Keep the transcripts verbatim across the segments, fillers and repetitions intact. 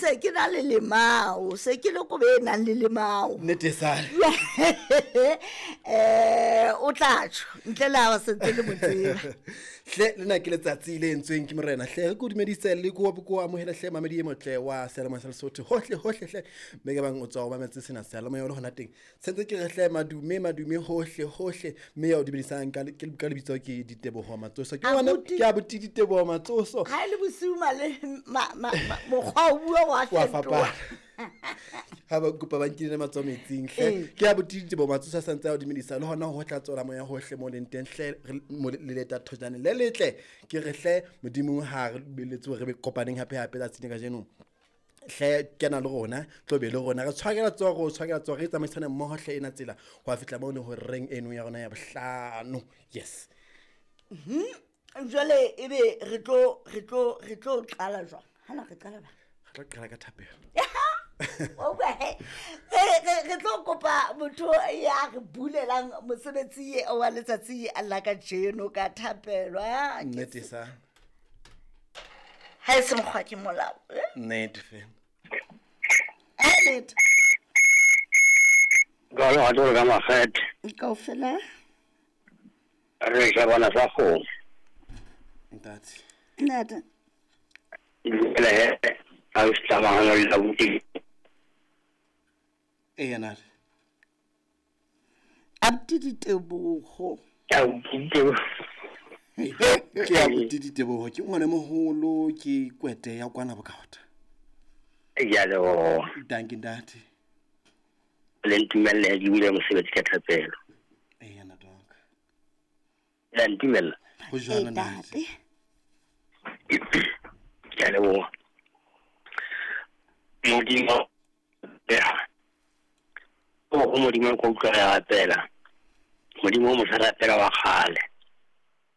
Se ke na le lemao, se ke le kobe e nang le lemao. Nnete sale. Eh, o tla tjho ntle le ha o sentse le mo tseba. Hle lena ke letsatsi le entsweng ke morena hle re ko dumedise le ko ko amohela hle mamedi e motle wa Seyalemoya sa Lesotho hohle hohle hle mme ke bang o tswa o mametse sena seyalemoya le hona teng sentse ke re hle madume madume hohle hohle mme ya o dumedisang ka ka lebitso ke Diteboho Matsoso ke ngwana ke abuti Diteboho Matsoso ha le bosiu male mokgwa o bua wa fetoha ha ba kopa ba nkile matsoho metsing hle ke abuti Diteboho Matsoso sa ntse a o dumedisa le hona ho tla tswela moya hohle mo leng teng hle le leta thojane le letle ke re hle modimo ha re beletse re be kopaneng hape hape tsatsing kajeno hle kena le rona tlo be le rona re tshwakela tsoho re tshwakela tsoho re tsamaisane mmoho hle ena tsela ho fihla mo ne ho reng eno ya rona ya bohlano. Yes. Mhm. Jwale ebe re tlo re tlo re tlo qala jwang? Hana re qala ba? Re tlo qala ka thapelo. O bua he. Re re tlo kopa motho ya re bulelang mosebetsi wa letsatsi la kajeno ka thapelo. Nnete sa. Ha e se mokgwa ke molao. Nnete fela. Nnete. Ka lo ha ka makgethe. Kaofela. Re ja bona sa kgomo. Ntate. Ntate. Le he a o tsamaya le la buti. E yana. Abuti Diteboho. Ke abuti. Ke abuti Diteboho ke ngwana moholo ke kwete ya kwana bokaota. Ya lo. Dankie ntate. Le ntumelle ke bule mosebetsi ka thapelo. E yana dog. La ntumella. Ho jwalo ntate. Ke a leboha. Modimo ya. O Modimo ko utlwa re rapela. Modimo o mo rapela wa kgale.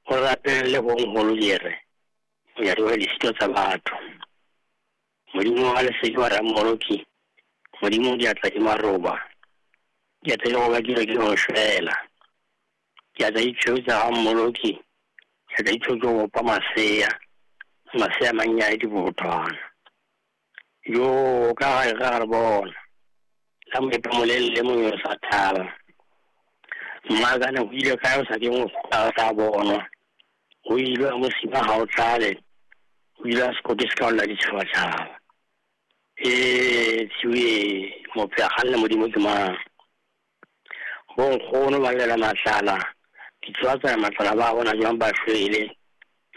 O rapele le bonkgolo dire. O ya re le sito tsa batho. Modimo wa lesedi wa Rammoloki. Modimo diatla di maroba. Diatla di roba ke re ke go shwela. Diatla di tshweu tsa Rammoloki. Diatla di tshweu ke go opa masea. Masea mannyane dibothwana. Yo ka ga re bona. La moepa molele le mongwe o sa thaba. Mmakane o ile kae o sa ke mo sa bonwa. O ile a mosima ha o tlale. O ile a sekote se ka olla ditšhabatšhaba. Ee tshiwe mophe a kganna modimo ke mang. Bonkgono ba llela matlala. Ditsoa tsa matlala ba bona jwang ba shwele.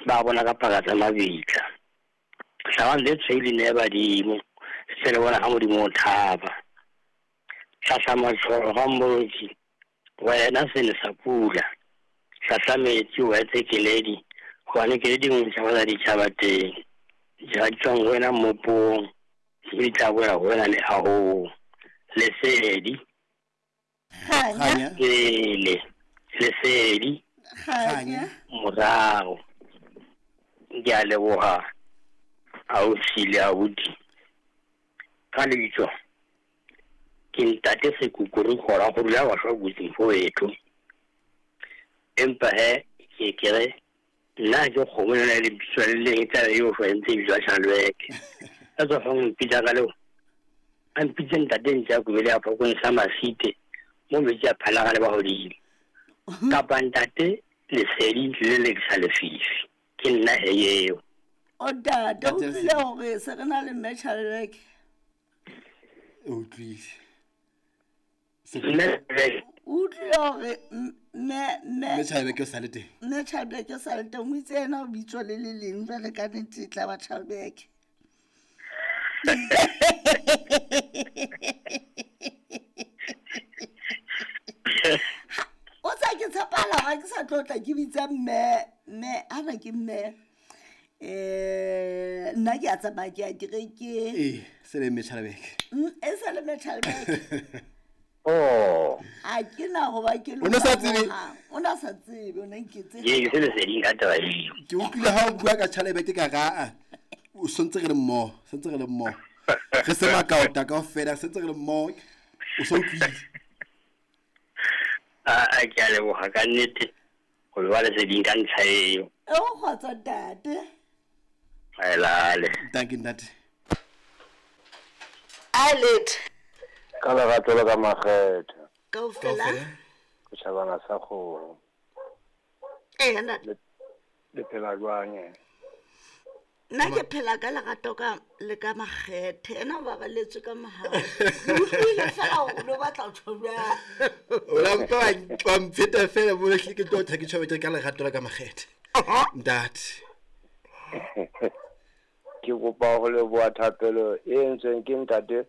Ba bona ka paka tsa mabitla. Hlabang le tshweu le neye badimo. Se le bona ha modimo o thaba. Hlahla matshwao Rammoloki. Wena sene sa pula. Hlahla metsi o etse keledi. Hobane keledi nngwe tjhaba tsa ditjhaba teng. Ditjhaba di tswang ho wena mmopong. Mme di tla boela ho wena mehahong. Lesedi. Kganya. Pele. Lesedi. Kganya. Morao. Ke a leboha. Ausi le abuti. Ka lebitso. Ke ntate Sekukuru khora go dula wa shwa botsi fo etho. Empa he ke ke re nna ke kgomo le le bitso le leng tla yo shwa ntse bitsa Chalweke. Ka tswa fa mpitsa ka leo. A mpitse ntate ntse a kubele a phokong sa masite mo metsi a phala le ba hodimo. Kapa ntate lesedi le le sa lefifi. Ke nna he eo. O ntate o tlile hore se re na le mme Chalweke. O tlile. O tlile hore mme mme mme Chalweke o sale teng. Mme Chalweke o sale teng o itse yena o bitswa le le leng jwale ka nnete e tla ba Chalweke. O tsa ke tshepala ha ke sa tlo tla ke bitsa mme mme ana ke mme. Eh nna ke a tsamaya ke a kerekeng. Eh se le mme Chalweke. E se le mme Chalweke. Oh. Ha ke na ho ba ke lo. O ne sa tsebe. O na sa tsebe, o ne nketse. Ke ke se leseding ka taba eo. Ke utlwile ha o bua ka Chalweke ka ga o sontse re le mmoho, sentse re le mmoho. Re se makaota kaofela, sentse re le mmoho. O so utlwile. A a ke a leboha ka nnete. Ho ba leseding ka ntlha eo. O kgotsa ntate. Aelale. Dankie ntate. A letho. Ka lerato le ka makgethe. Kaofela. Setjhabana sa kgoro. Ee, ntate. Le phela jwang eh? Nna ke phela ka lerato ka le ka makgethe. Ena o babaletswe ka mohau. Ke utlwile fela hore o no batla ho tjho jwang. O la mpa wa- wa mpheta fela mo hle ke tlo tla ke tjho ka lerato la ka makgethe. Ntate. Ke kopa ho leboha thapelo e entsweng ke ntate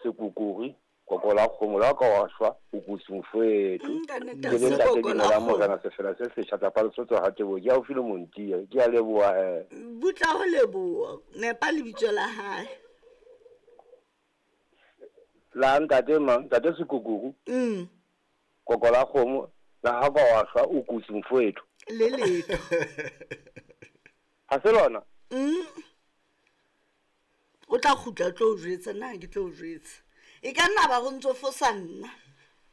Sekukuri koko la kgomo la ka wa shwa o kutsi mofethu. Mm, ka nnete, Ke le ntate sekoko la Dumela kgomo. Morena sefela se setjha tsa Palesotho ha Teboho ke haufi le Montia. Ke a leboha eh. Butla ho leboha. Nepa lebitso la hae. La ntate mang? Ntate Sekukuru Mm. koko la kgomo la ha ka wa shwa o kutsi mofethu. Le letho. Ha se lona? Mm. O tla kgutla o tlo o jwetsa, nna ha ke tlo o jwetsa. E ka nna ba go ntso fosa nna.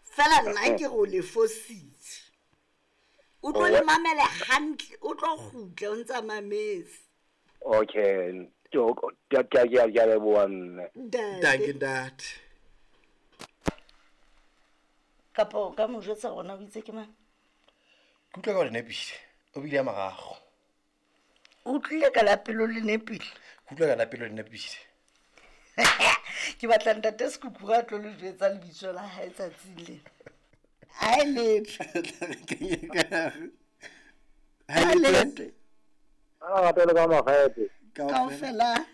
Fela nna ke re o le fositse. O tlo le mamele hantle, o tlo kgutla o ntsa mametse. Okay. Ke ke ke ke a leboha mme. Dankie Ntate. ntate. Kapa o ka mo jwetsa hore na o itse ke mang? Ke utlwa ka o le nepile. O bile ya marago. O utlwile ka la pelo le nepile. Ke utlwa ka la pelo le nepile. Ke batla ntate Sekukuru a tlo le jwetsa lebitso la hae tsatsing lena. Ha e letho. Ha Ha e letho. letho. Ka lerato le ka makgethe. Kaofela.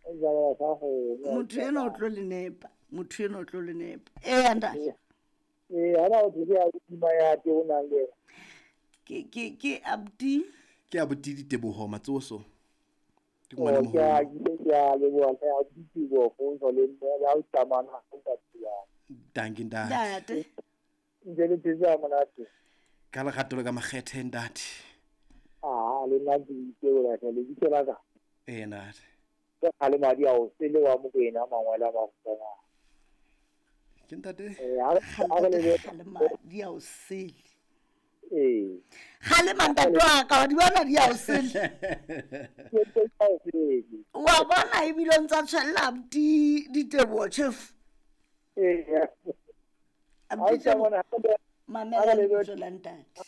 Setjhabana sa kgomo. Motho enwa o tlo le nepa. Motho enwa o tlo le nepa. Eya ntate. Ee, hana o thwe ke abuti ya te o nang le yena. Ke ke ke abuti. Ke abuti Diteboho Matsoso. Ke Oh, ngwana ke a moholo. ke ke a leboha hle abuti Teboho Fonso le mme le ha o tsamana ha o ka tshwana. Dankie ntate. Ntate. Ntse le phetse ha monate. Ka lerato le ka makgethe ntate. Ah, le nna ke itebola hle lebitso la ka. Ee ntate. Ke kgale madi a o sele wa Mokoena a mangwele a makgutshwanyane. Ke ntate. Eh, ha re ha re lebohe. Kgalema di a o sele. Ee. Kgalema ntate wa ka wa di bona di a o sele. Ke ntse ke a o sele. Wa bona ebile o ntsa tshwella abuti Diteboho tjhefu. Ee. Ha o Abuti Teboho, tsamana ha re mamela ha re lebohe lebitso la ntate.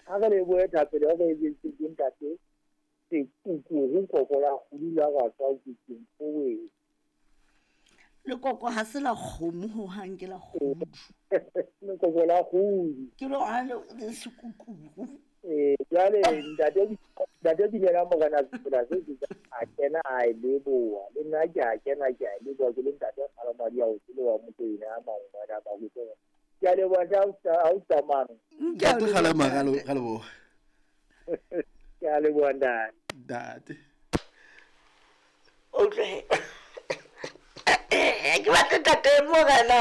ha re lebohe thapelo ya re entseng ke ntate Sekukuru koko la kgudu la ka tswa kutsing owe. Lekoko ha se la kgomo hohang, ke la kgudu. Lekoko la kgudu. Ke lona le le sekukuru. Eh, jwale ntate ntate Dumela Morena sefela se setjha a kena a e leboha. Le nna ke a kena ke a e leboha ke le ntate Kgalemadi a o sele wa Mokoena a mangwele a makgutshwanyane. Ke a leboha hle ha o tsamana. Ntate Kgalema ra lo- ra leboha. Ke a leboha ntate. Ntate. O utlwe. Ke batla ntate Morena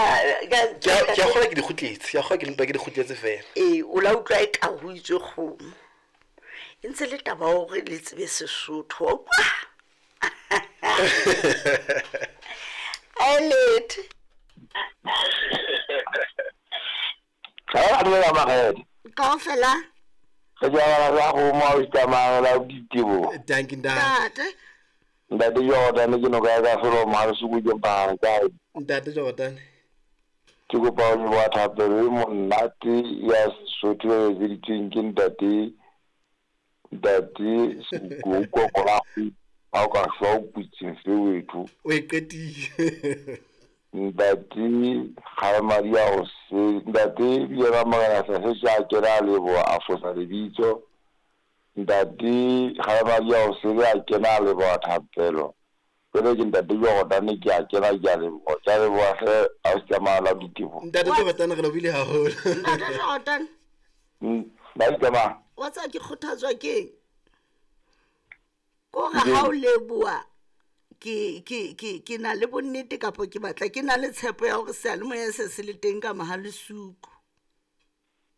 ka- Ke a ke a kgolwa ke di kgutletse. Ke a kgolwa ke mpa ke di kgutletse fela. Ee, o la utlwa e ka ho itswe kgomo. E ntse le taba ya hore le tsebe Sesotho, wa utlwa? Ha e letho. Ha re leboha makgethe. Kaofela. Setjhabana sa kgomo ha o tsamana la Diteboho. Dankie ntate. Ntate. Ntate Jordan ke noka ya ka felo mahare suku ke mpahang kae. Ntate Jordan. Ke kopa ho leboha thapelo e monate ya Sesotho e etseditsweng ke ntate ntate Sekukuru koko la kgudu ha o ka shwa o kutseng fewethu. O e qetile. Ntate Kgalemadi a o se ntate Dumela Morena sa se a kena a leboha a fosa lebitso. Ntate Kgalemadi a o sele a kena a leboha thapelo. Jwale ke ntate Jordan ke a kena ke a leboha. Ke a leboha hle ha o tsamaya la Diteboho. Ntate Jordan re lebohile haholo. Ntate Jordan. Mm, ba tsamaya. Wa tseba ke kgothatswa keng? Kore ha o leboha ke ke ke ke na le bonnete kapa ke batla ke na le tshepo ya hore seyalemoya se se le teng ka Mohalesuku.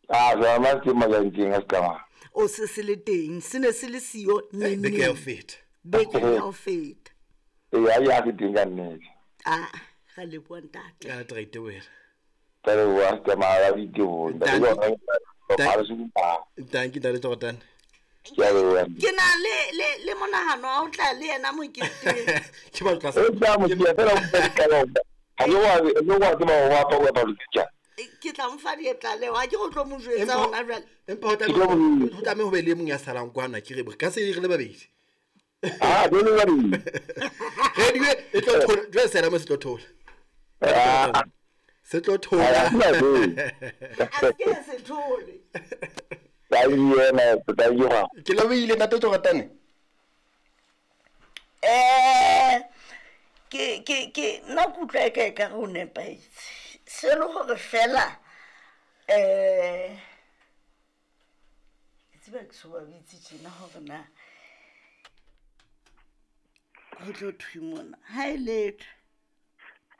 Ah, seyalemoya se teng Majaneng ha se tsamaya. O se se le teng, se ne se le siyo Eh, Beke ya ho neneng. feta. Beke ya ho feta. Ee, ha ya se teng ka nnete. Ah, ra leboha ntate. Ka nete ra itebohela. Ka leboha ha se tsamaya la Diteboho. Ntate Dankie. Jordan Mahalesuku. Dankie ntate Jordan. Ke na le le le monahano wa ho tla le yena moketeng. Ke ba tla O tla mo tia fela o tla qala. Ha ke wa ke wa tseba ho wa pa wa tja. Ke tla mo fa dietlaleho ha ke go tlo mo jwetsa Empa- hona jwale. Empa ho tlameha ho tlameha ho be le e mong ya salang kwana ke re ka se re le babedi. Ah, ke le babedi. Radio e tlo thola jwale sena mo se tlo thola. Ah. Se tlo thola. A ke se thole. Ba yena ba yona. Ke lebohile ntate Tsoratane. Eh ke ke ke nna ke utlwa e ka e ka re o nepahetse. Se le hore fela eh ke tseba ke so ba bitse tjena hore na ho tlo thwe mona. Ha e letho.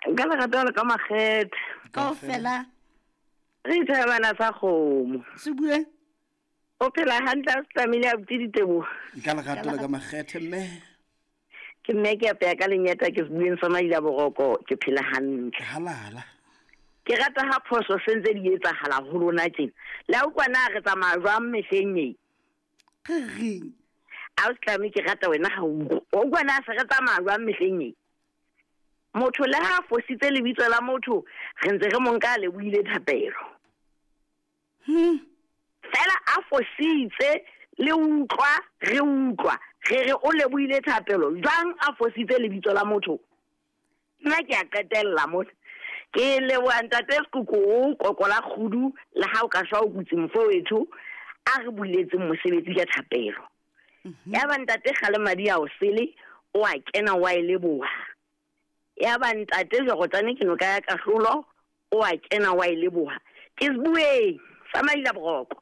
Nka le rata le ka makgethe. Kaofela. Re thabana sa kgomo. Se bue. O phela hantle a se tlamehile a butse diteboho. Nka le rata le ka makgethe mme. Ke mme ke apeya ka lenyeta ke sebueng sa Maila Boroko ke phela hantle. Halala. Ke rata ha phoso se ntse di etsahala ho lona tjena. Le a utlwa na re tsamaya jwang mehleng e? Re reng? A o se tlamehe ke rata wena ha o utlwa. O utlwa na se re tsamaya jwang mehleng e? Motho le ha fositse lebitso la motho re ntse re mo nka le buile thapelo. Hmm. Fela a fositse le utlwa re utlwa re re o lebohile thapelo jwang a fositse lebitso la motho. Nna ke a qetella mona. Ke leboha ntate Sekuku kokola kgudu le ha o ka shwa o kutse mfowetho a re buletseng mosebetsi ka thapelo. Ya ba ntate Kgalemadi a o sele o a kena wa e leboha. Ya ba ntate Jorotane ke noka ya kahlolo o a kena wa e leboha. Ke sebueng sa Maila Boroko.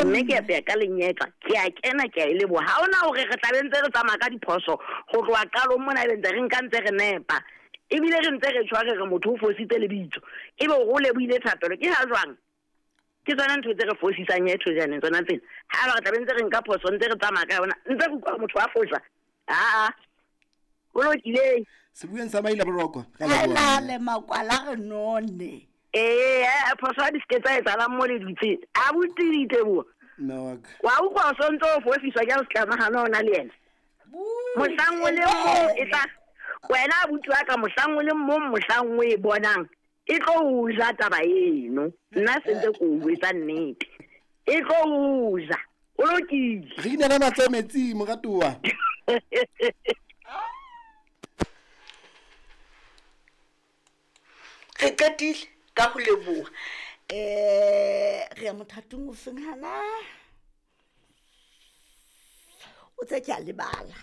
Mme ke apeya ka lenyetla ke a kena ke a e leboha. Ha hona hore re tla be ntse re tsamaya ka diphoso ho tloha qalong mona ebe ntse re nka ntse re nepa. Ebile re ntse re tshware re motho o fositse lebitso. Ebe o lebohile thapelo ke ha jwang? Ke tsona ntho tse re fosisang etho jaaneng tsona tsena. Ha ba re tla be ntse re nka phoso ntse re tsamaya ka yona ntse re utlwa motho a fosa. Aa. Ho lokile. Sebueng sa Maila Boroko. Ha lale makwala re none. Eh, phoso ha di se ke tsa etsahalang mo le dutseng. A butse diteboho. Mme wa ka. Wa utlwa o sontso o fosiswa ke a o tlamahana ona le yena. Mohlang o le mong e tla wena abuti wa ka mohlang o le mong mohlang o e bonang e tlo o ja taba eno. Nna se ntse ke o etsa nnete. E tlo o ja. O lokile. Re inela matsoho metsing moratuwa. Re qetile ka ho leboha. Eh re ya mothatong o feng hana? O tse ke a lebala.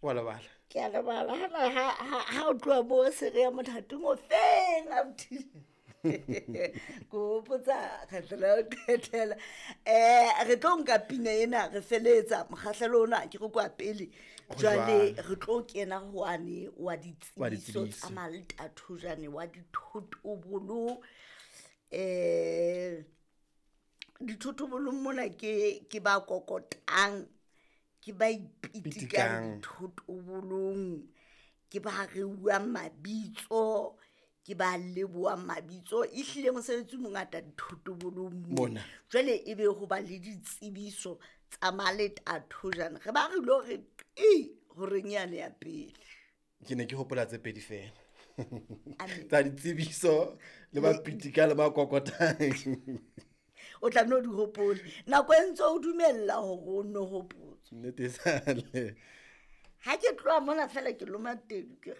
Wa lebala. Ke a lebala hana ha ha o tloha bo se re ya mothatong o feng abuti. Ko potsa kgetlo la ho qetela. Eh re tlo nka pina ena re feletsa mokgahlelo ona ke re kwa pele. Jwale re tlo kena hwane wa ditsebiso tsa maltathojane wa dithotobolo. Eh dithotobolo mona ke ke ba kokotang ke ba ipitikang dithotobolong ke ba reuwang mabitso ke ba lebohang mabitso e hlile mosebetsi o mongata dithotobolong mona. Jwale e be ho ba le ditsebiso tsa maletathojane re ba re lo re e horeng yane ya pele. Ke ne ke hopola tse pedi fela. Tsa ditsebiso le ba pitika le ba kokotang. O tla no di hopole. Nako e ntse o dumella hore o no hopotse. Nnete sale. Ha ke tloha mona fela ke loma tedu ke